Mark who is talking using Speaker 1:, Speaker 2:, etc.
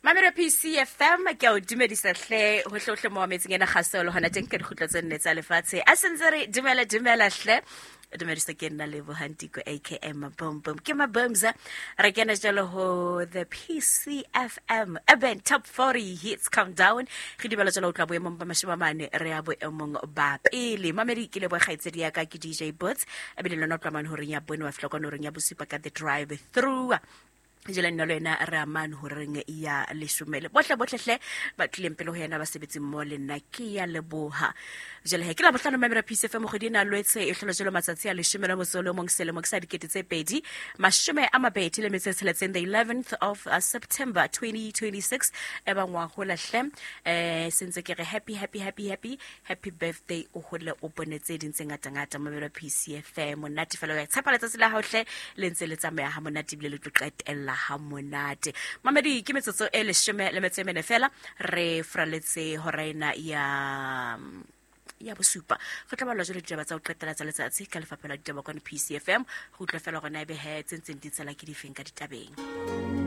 Speaker 1: Mamelo PCFM ke a o dumedisa hle hohlehohle mo metseng ena kgaso le hona teng ka dikgutlo tse nne tsa lefatshe a sentse re dumela dumela hle dumedisa ke nna lebohantiko akm boom boom ke mabumza re kena jalo ho the PCFM Urban Top 40 Hits Countdown. Re dumela jalo o tla boemong ba 40 re ya boemong ba pele. Mamedi ke leboe kgaitsedi ya ka ke DJ Bots ebile lona o tla mane horeng ya bone wa fihla kwana horeng ya bosupa ka the drive through. Jale nna le wena re amane horeng ya leshome le bohle bohle hle ba tlileng pele ho yena ba sebetseng mo le nna ke ya leboha. Jale he ke la bohlano mamela Peace FM kgwedi ena Lwetse e hlola jalo matsatsi a leshome le motso o le mong selemo ke sa 2026, the 11th of September 2026. E bang wa hola hle sentse ke re happy happy happy happy happy birthday, o hole o bone tse ding tse ngata-ngata. Mamela Peace FM monate fela, wa tshepa letsatsi la hao hle le ntse le tsamaya ha monate ebile le tlo qetella ha monate. Mamedi ke metsotso e 14 fela re fraletse hora ena ya bosupa. Go tla balwa jalo ditaba tsa go qetela tsa letsatsi ka lefapha la ditaba kwane PCFM go utlwa fela gona ebe he tse ntseng di tsela ke difeng ka ditabeng.